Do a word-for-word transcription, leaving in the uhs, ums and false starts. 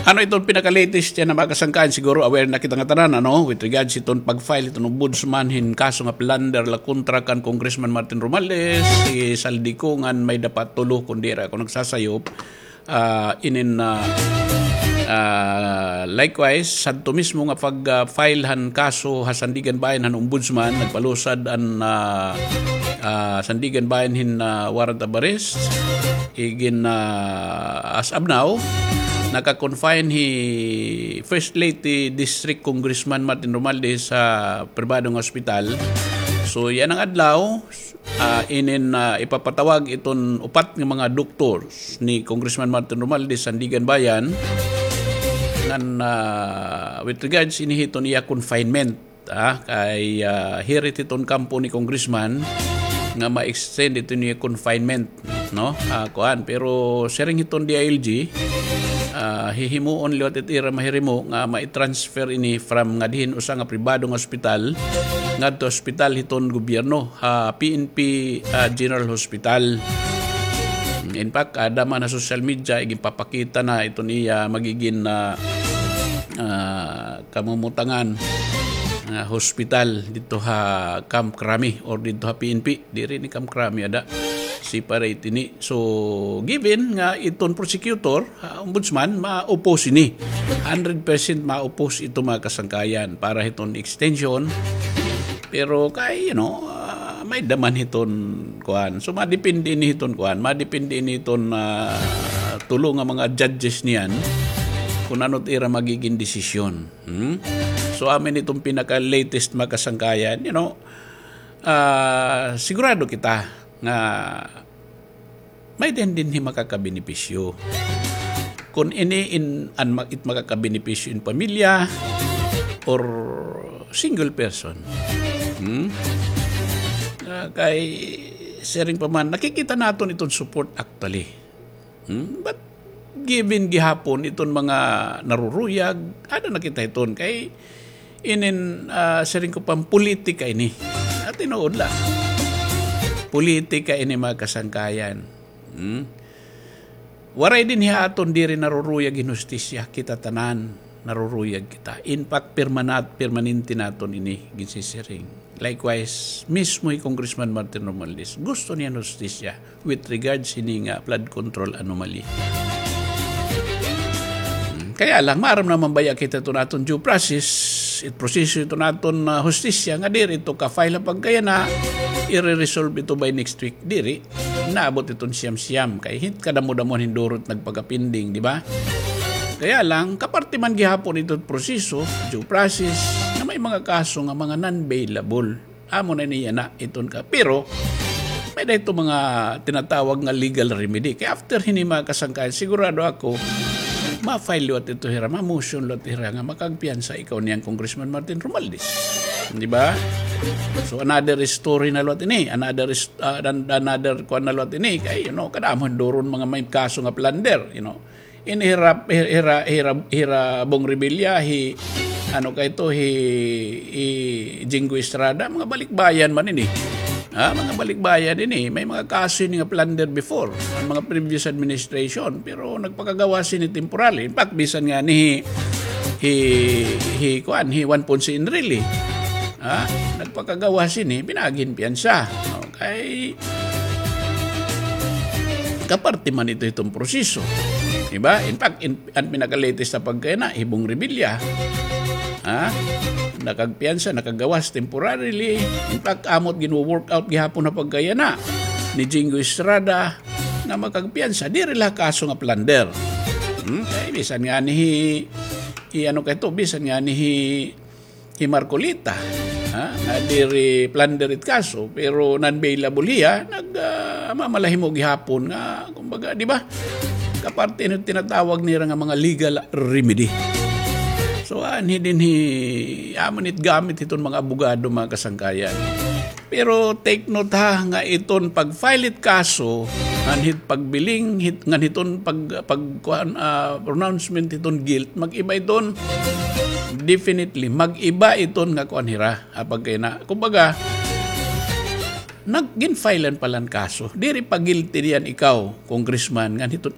Ano iton pinaka-latest yana, mga kasangkayan? Siguro aware na kita nga tanan, ano, with regards iton pag-file iton ombudsman hin kaso nga plunder la kontra kan Congressman Martin Romualdez, isaldi ko ngan may dapat tulo kon diri ako nagsasayop. Ah, inin, ah, ah, likewise, sadto mismo nga pag, ah, file han kaso ha Sandiganbayan han ombudsman, nagpalusad an, ah, ah, Sandiganbayan hin, ah, warrant of arrest. Igin, ah, as of now, naka-confine hi First Lady District Congressman Martin Romualdez sa pribado nga ospital. So, yana nga adlaw, ah, inin, ah, ipapatawag iton upat nga mga doctors ni Congressman Martin Romualdez, Sandiganbayan, ngan, ah, with regards ini hiton iya confinement. Ah, kay, ah, hirit hiton kampo ni Congressman nga ma-extend iton iya confinement, no? Ah, kuan, pero siring hiton D I L G, ah, hihimuon liwat it ira mahirimo nga mai-transfer ini from ngadto hin usa nga pribado nga ospital ngadto ospital hiton gobyerno, ha P N P, ah, General Hospital. In fact, ada man ha social media, iginpapakita na iton iya magigin, ah, ah, kamumutangan nga hospital didto ha Camp Crame or didto ha P N P. Diri ini Camp Crame, ada. Separate ini. So, given nga iton prosecutor, ah, ombudsman, ma-oppose ini. Hundred percent ma-oppose ito, mga kasangkayan, para hiton extension. Pero kay, you know, ah, may-ada man hiton kuan. So, madepende ini hiton kuan. Madepende ini hiton, ah, tulo nga mga judges niyan kon ano it ira magigin desisyon. Hmm? So, amo ini iton pinaka-latest, mga kasangkayan. You know, ah, sigurado kita nga may-ada dinhi makakabenepisyo. Kon ini in, an ma-, it makakabenepisyo in pamilya or single person. Hmm? Ah, kay siring pa man, nakikita naton iton support actually. Hmm? But given gihapon iton mga naruruyag, ada na kita hiton kay inin, ah, siring ko pa, politika ini. At tinuod la. Politika ini, mga kasangkayan. Hmm? Waray dinhi ha aton diri naruruyag hin hustisya, kita tanan naruruyag kita. In fact, permanat-, permanente naton ini ginsisiring. Likewise, mismo hi Congressman Martin Romualdez, gusto niya hin hustisya with regards hini nga flood control anomaly. Hmm, kaya lang, maaram naman baya kita iton aton due process, it proseso iton aton, ah, hustisya, nga diri ito ka-file ha pagkayana, ire-resolve ito by next week. Diri, naabot iton siyam-siyam, kay hit kadamo-damo hin duro it nagpakapending, di ba? Kaya lang, kaparte man gihapon ito proseso, due process, na may mga kaso nga mga non-bailable. Amo na ini yana, iton ka. Pero, may-ada ito mga tinatawag nga legal remedy. Kay after hini, mga kasangkayan, sigurado ako, ma-file liwat ito hira, ma-motion liwat hira nga makagpiyansa ikaw niyan Congressman Martin Romualdez. Di ba? So, another story na liwat ini, another is-, ah, an-, another kuan na liwat ini. Kay, you know, kadamo hin duro nga mga may kaso nga plunder, you know. Ini hira, hira, hira, hira Bong Revilla, hi, ano kay ito, hi, hi Jinggoy Estrada, mga balikbayan man ini. Ha, mga balikbayan ini. May mga kaso ini nga plunder before, an mga previous administration, pero nagpakagawas ini temporary. In fact, bisan ngani hi, hi, hi, kuan, hi Juan Ponce Enrile. Ha, nagpakagawas ini, pinaagi hin piyansa. Okay. Kaparte man ito hiton proseso. Di ba? In fact, in, an pinaka-latest ha pagkayana, hi Bong Revilla. Ha? Nakagpiyansa, nakagawas temporarily. In fact, amo it ginwo-work out gihapon ha pagkayana ni Jinggoy Estrada nga makagpiyansa. Diri la kaso nga plunder. Hmm? Kay bisan ngani hi, hi ano kay ito, bisan ngani hi hi Marcoleta, ha? Nga diri plunder it kaso, pero non-bailable hiya, nag, ah, mamalahimo gihapon nga, kumbaga, di ba? Kaparte hin tinatawag nira nga mga legal remedy. So, anhi dinhi, amo it gamit hiton mga abogado, mga kasangkayan. Pero take note ha, nga iton pag-file it kaso, ngan hit pagbiling, hit, ngan hiton pag, pag, kuan, ah, pronouncement hiton guilt, mag-iba iton, definitely, mag-iba iton nga kuan hira, ah, pagkayana. Kumbaga, nag-, gin-filean pa la hin kaso. Diri pa guilty niyan ikaw, congressman, ngan hiton